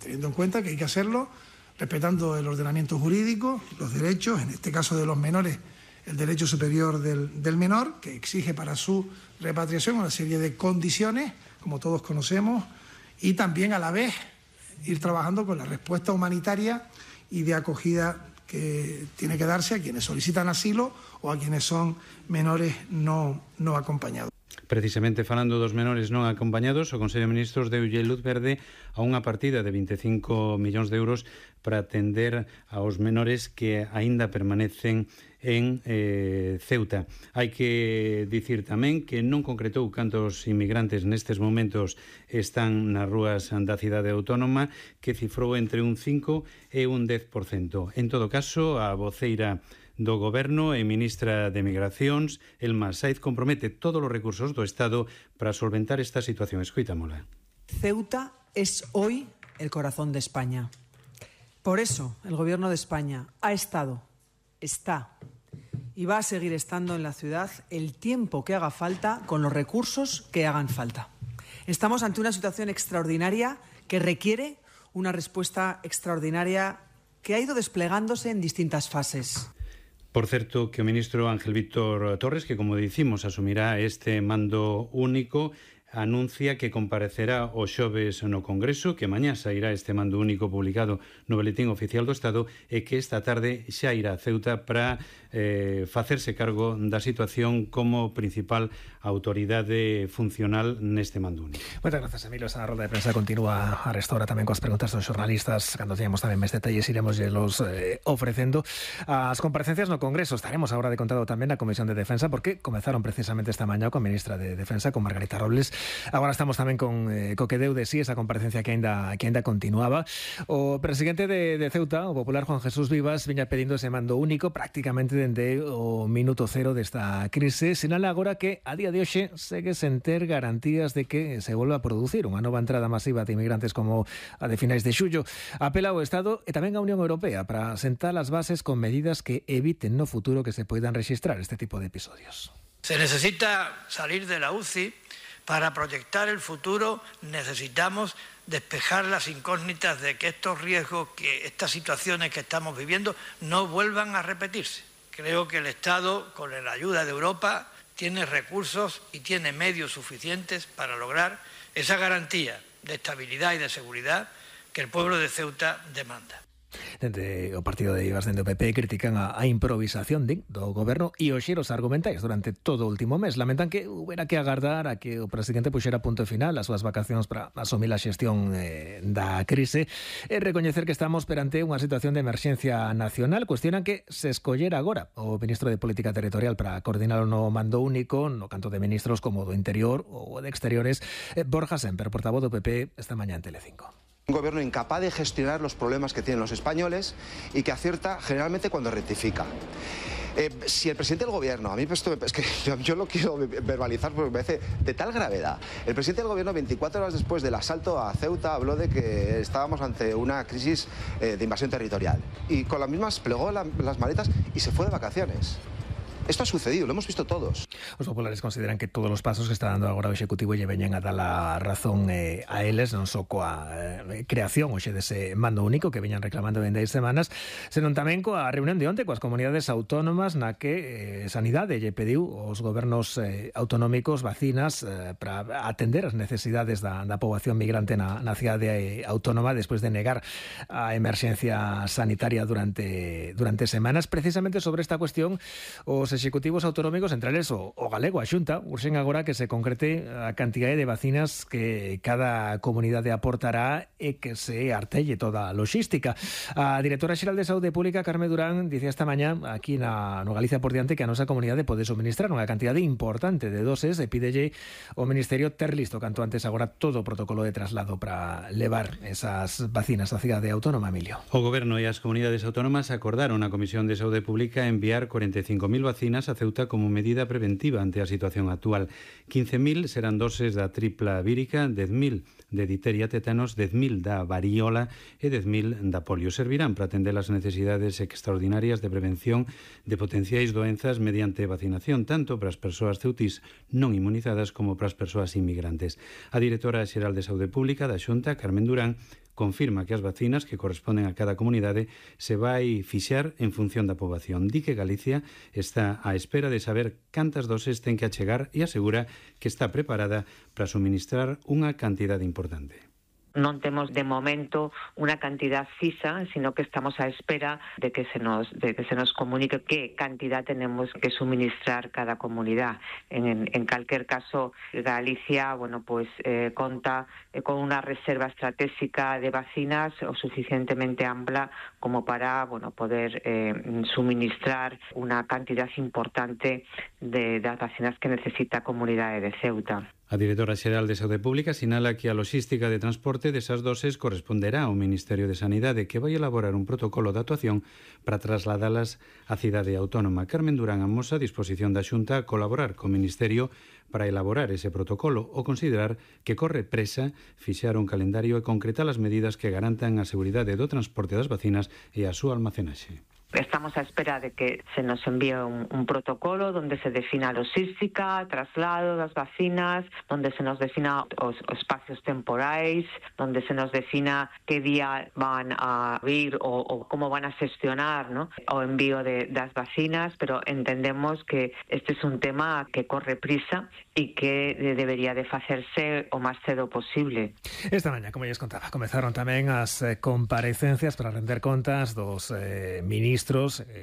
teniendo en cuenta que hay que hacerlo respetando el ordenamiento jurídico, los derechos, en este caso de los menores, el derecho superior del menor, que exige para su repatriación una serie de condiciones, como todos conocemos, y también a la vez ir trabajando con la respuesta humanitaria y de acogida que tiene que darse a quienes solicitan asilo o a quienes son menores no acompañados. Precisamente falando dos menores non acompañados, o Consello de Ministros deulle luz verde a unha partida de 25 millóns de euros para atender aos menores que aínda permanecen en Ceuta. Hai que dicir tamén que non concretou cantos inmigrantes nestes momentos están nas rúas da cidade autónoma, que cifrou entre un 5 e un 10%. En todo caso, a voceira do Goberno e ministra de Migracións, Elma Saiz, compromete todos os recursos do Estado para solventar esta situación. Escoitámola. Ceuta es hoy el corazón de España. Por eso el Gobierno de España ha estado, está y va a seguir estando en la ciudad el tiempo que haga falta con los recursos que hagan falta. Estamos ante una situación extraordinaria que requiere una respuesta extraordinaria que ha ido desplegándose en distintas fases. Por certo, que o ministro Ángel Víctor Torres, que como dicimos asumirá este mando único, anuncia que comparecerá o xoves no Congreso, que mañá sairá este mando único publicado no Boletín Oficial do Estado e que esta tarde xa irá a Ceuta para facerse cargo da situación como principal autoridade funcional neste mando único. Moitas grazas, Emilio. Esa roda de prensa continúa a restaura tamén coas preguntas dos xornalistas. Cando teñamos tamén máis detalles iremos los ofrecendo. As comparecencias no Congreso estaremos agora de contado tamén na Comisión de Defensa, porque comezaron precisamente esta mañá coa ministra de Defensa, con Margarita Robles. Agora estamos tamén con co que deu de sí esa comparecencia que ainda continuaba. O presidente de Ceuta, o popular Juan Jesús Vivas, viña pedindo ese mando único prácticamente dende o minuto cero desta crise. Sinala agora que a día de hoxe segue sen ter garantías de que se volva a producir unha nova entrada masiva de inmigrantes como a de finais de xullo. Apela ao Estado e tamén á Unión Europea para sentar as bases con medidas que eviten no futuro que se poidan rexistrar este tipo de episodios. Se necesita salir de la UCI. Para proyectar el futuro necesitamos despejar las incógnitas de que estos riesgos, que estas situaciones que estamos viviendo no vuelvan a repetirse. Creo que el Estado, con la ayuda de Europa, tiene recursos y tiene medios suficientes para lograr esa garantía de estabilidad y de seguridad que el pueblo de Ceuta demanda. Dende o partido de Vivas, dende o PP, critican a improvisación do Goberno e os xiros argumentais durante todo o último mes. Lamentan que hubiera que agardar a que o presidente puxera punto final as súas vacacións para asumir a xestión da crise e recoñecer que estamos perante unha situación de emerxencia nacional. Cuestionan que se escollera agora o ministro de Política Territorial para coordinar o no mando único no canto de ministros como do Interior ou de Exteriores. Borja Semper, portavoz do PP, esta mañá en Telecinco. Un gobierno incapaz de gestionar los problemas que tienen los españoles y que acierta generalmente cuando rectifica. Si el presidente del gobierno, a mí esto es que yo lo quiero verbalizar porque me parece de tal gravedad. El presidente del gobierno, 24 horas después del asalto a Ceuta, habló de que estábamos ante una crisis de invasión territorial. Y con las mismas plegó las maletas y se fue de vacaciones. Esto ha sucedido, lo hemos visto todos. Os populares consideran que todos os pasos que está dando agora o Executivo lle veñen a dar a razón a eles, non só coa creación hoxe dese mando único que veñan reclamando dende 10 semanas, senón tamén coa reunión de onte coas comunidades autónomas na que Sanidade lle pediu aos gobernos autonómicos vacinas para atender as necesidades da poboación migrante na cidade autónoma despois de negar a emerxencia sanitaria durante semanas. Precisamente sobre esta cuestión, os executivos autonómicos, entre eles o galego, a Xunta, urxen agora que se concrete a cantidade de vacinas que cada comunidade aportará e que se artelle toda a logística. A directora xeral de Saúde Pública, Carme Durán, dicía esta mañá aquí no Galicia por diante que a nosa comunidade pode suministrar unha cantidade importante de doses e pídelle o Ministerio ter listo canto antes agora todo o protocolo de traslado para levar esas vacinas á cidade autónoma, Emilio. O Goberno e as comunidades autónomas acordaron a Comisión de Saúde Pública enviar 45.000 vacinas a Ceuta como medida preventiva ante a situación actual. 15.000 serán doses da tripla vírica, 10.000 de difteria, tétanos, 10.000 da varíola e 10.000 da polio. Servirán para atender as necesidades extraordinarias de prevención de potenciais doenzas mediante vacinación, tanto para as persoas ceutís non inmunizadas como para as persoas inmigrantes. A directora xeral de Saúde Pública da Xunta, Carmen Durán, confirma que as vacinas que corresponden a cada comunidade se vai fixar en función da poboación. Di que Galicia está á espera de saber cantas doses ten que achegar e asegura que está preparada para suministrar unha cantidade importante. Non temos de momento unha cantidad fisa, sino que estamos á espera de que se nos comunique que cantidad tenemos que suministrar cada comunidad. En calquer caso, Galicia, conta con unha reserva estratégica de vacinas o suficientemente ampla como para poder suministrar unha cantidad importante de das vacinas que necesita a comunidade de Ceuta. A directora xeral de Saúde Pública sinala que a logística de transporte desas doses corresponderá ao Ministerio de Sanidade, que vai elaborar un protocolo de actuación para trasladalas á cidade autónoma. Carmen Durán amosa a disposición da Xunta a colaborar co Ministerio para elaborar ese protocolo ou considerar que corre presa fixar un calendario e concretar as medidas que garantan a seguridade do transporte das vacinas e a súa almacenaxe. Estamos a espera de que se nos envíe un protocolo donde se defina a logística, traslado das vacinas, donde se nos defina os espacios temporais, donde se nos defina que día van a vir o como van a gestionar, ¿no?, o envío das vacinas, pero entendemos que este es un tema que corre prisa e que debería de facerse o máis cedo posible. Esta mañá, como lles contaba, comezaron tamén as comparecencias para render contas dos ministros,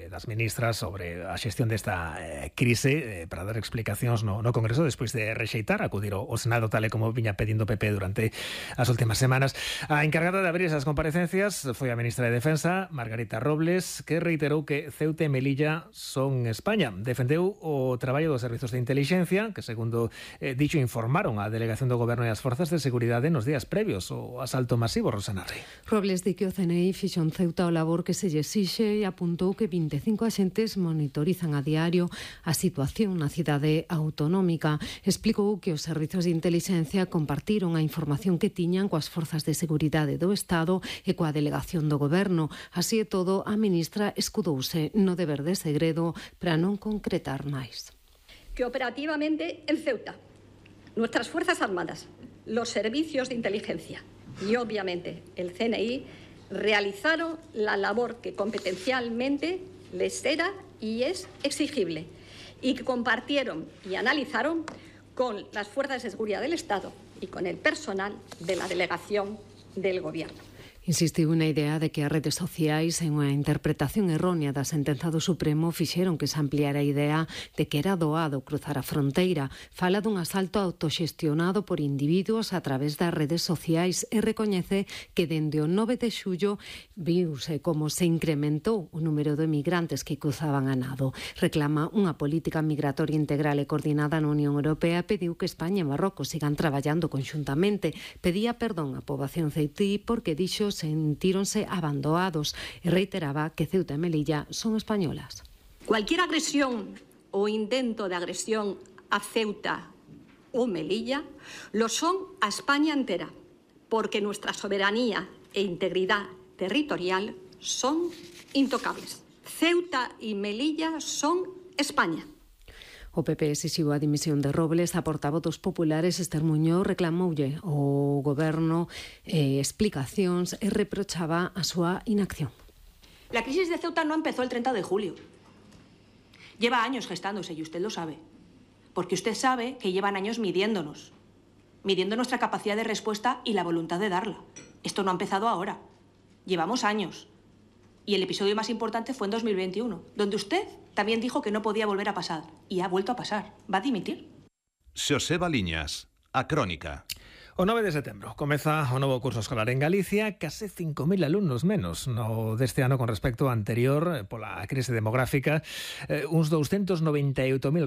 das ministras sobre a xestión desta crise, para dar explicacións no Congreso despois de rexeitar acudir ao Senado tal e como viña pedindo PP durante as últimas semanas. A encargada de abrir esas comparecencias foi a ministra de Defensa, Margarita Robles, que reiterou que Ceuta e Melilla son España. Defendeu o traballo dos servizos de intelixencia, que segundo dixo informaron a delegación do Goberno e as forzas de seguridade nos días previos ao asalto masivo. Rosana Rey. Robles di que o CNI fixo en Ceuta o labor que se lle exixe e apuntou que 25 axentes monitorizan a diario a situación na cidade autonómica. Explicou que os servizos de intelixencia compartiron a información que tiñan coas forzas de seguridade do Estado e coa delegación do Goberno. Así e todo, a ministra escudouse no deber de segredo para non concretar máis. Que operativamente en Ceuta, nuestras Fuerzas Armadas, los servicios de inteligencia y obviamente el CNI realizaron la labor que competencialmente les era y es exigible y que compartieron y analizaron con las fuerzas de seguridad del Estado y con el personal de la delegación del Gobierno. Insistiu na idea de que as redes sociais en unha interpretación errónea da sentenza do Supremo fixeron que se ampliara a idea de que era doado cruzar a fronteira. Fala dun asalto autoxestionado por individuos a través das redes sociais e recoñece que dende o 9 de xullo viuse como se incrementou o número de emigrantes que cruzaban a nado. Reclama unha política migratoria integral e coordinada na Unión Europea e pediu que España e Marrocos sigan traballando conxuntamente. Pedía perdón á poboación ceutí porque dixo sentíronse abandonados e reiteraba que Ceuta e Melilla son españolas. Cualquier agresión o intento de agresión a Ceuta o Melilla lo son a España entera, porque nuestra soberanía e integridad territorial son intocables. Ceuta y Melilla son España. O PP exixiu a dimisión de Robles. A portavoz dos populares, Esther Muñoz, reclamoulle ao Goberno explicacións e reprochaba a súa inacción. La crisis de Ceuta no empezó el 30 de julio. Lleva años gestándose y usted lo sabe. Porque usted sabe que llevan años midiendo nuestra capacidad de respuesta y la voluntad de darla. Esto no ha empezado ahora. Llevamos años. Y el episodio más importante fue en 2021, donde usted también dijo que no podía volver a pasar. Y ha vuelto a pasar. ¿Va a dimitir? Xoseba Liñas, a Crónica. O 9 de setembro comeza o novo curso escolar en Galicia, case 5.000 alumnos menos no deste ano con respecto ao anterior pola crise demográfica, uns 298.000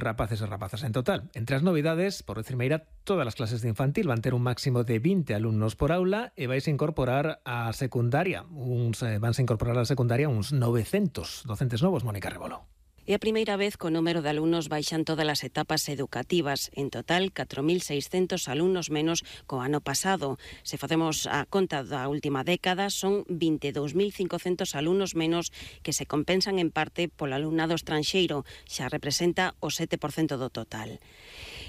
rapaces e rapazas en total. Entre as novidades, por decir meira, todas as clases de infantil van ter un máximo de 20 alumnos por aula e vanse incorporar a secundaria uns 900 docentes novos. Mónica Rebolo. É a primeira vez que o número de alumnos baixan todas as etapas educativas. En total, 4.600 alumnos menos co ano pasado. Se facemos a conta da última década, son 22.500 alumnos menos que se compensan en parte polo alumnado estranxeiro. Xa representa o 7% do total.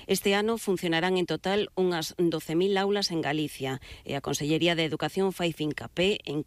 Este ano funcionarán en total unhas 12.000 aulas en Galicia e a Consellería de Educación fai fincapé en